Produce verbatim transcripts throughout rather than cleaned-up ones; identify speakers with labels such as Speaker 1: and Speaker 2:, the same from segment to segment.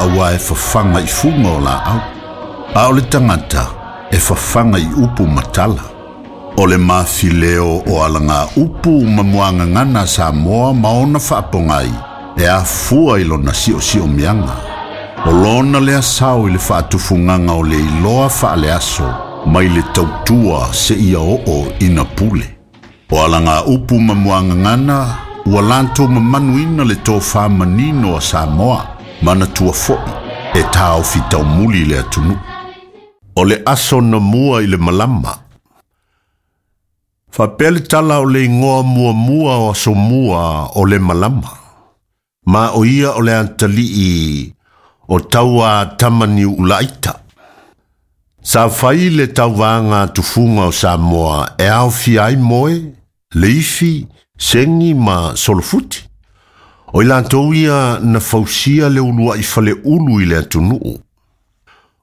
Speaker 1: Auā e fafaga i fuga o laau. A o le tagata e fafaga i upu ma tala. O le mafileo o alaga upu ma muagagana a Samoa ma ona faapogai e afua i lona siosiomiaga. O lona lea sao i le faatufugaga o le iloa faaleaso mai le tautua seia oo ina pule. O alaga upu ma muagagana ua latou mamanuina le tofa manino a Samoa, manatua foi e taofi taumuli le atunuu. O le aso na mua i le malama. Faapea le tala o le igoa muamua o aso mua o le malama. Ma o ia o le atalii o taua Tamaniuulaita. Sa fai le tauvaga tufuga o Samoa e aofia ai moe, leifi, segi ma solofuti. O i latou ia na fausia le uluai faleulu i le atunuu.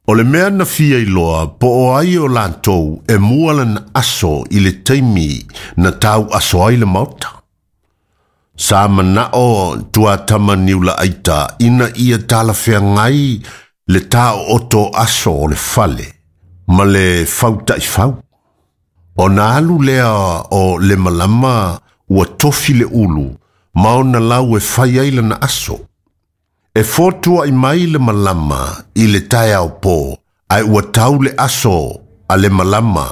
Speaker 1: O le mea na fia iloa po o ai o latou e mua lana aso i le taimi na tau aso ai le maota. Sa manao Tuatamaniulaaita ina ia talafeagai le taooto aso o le fale ma le fautaifau. Ona alu lea o le malama ua tofi le ulu ma ona lau e fai ai lana aso. E fotuai mai le malama i le taeao po, ae ua tau le aso a le malama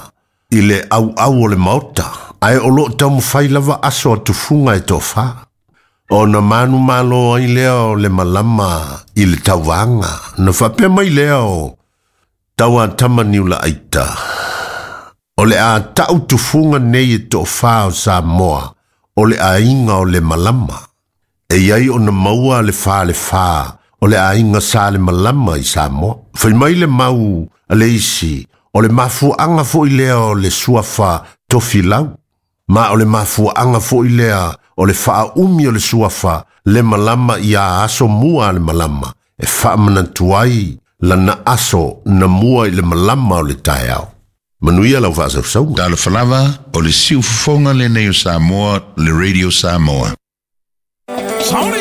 Speaker 1: i le auau o le maota, ae o loo taumafai lava aso a tufuga e toafa. Ona manumalo ai lea o le malama i le tauvaga, na faapea mai lea o Tauatamaniulaaita. O le a tau tufuga nei e toafa o Samoa, o le aiga o le malama. E iai ona maua le fa le fa o le aiga sa le malama i Samoa. Fai mai le mau a le isi, o le mafuaaga foi lea o le suafa Tofilau. Ma o le mafuaaga foi lea o le faaumi o le suafa le malama ia aso mua le malama. E faamanatu ai lana aso na mua i le malama o le taeao. Manuia lau faasausauga.
Speaker 2: Talofa lava, o le siufofoga lenei o Samoa, le Radio Samoa.
Speaker 3: Sony!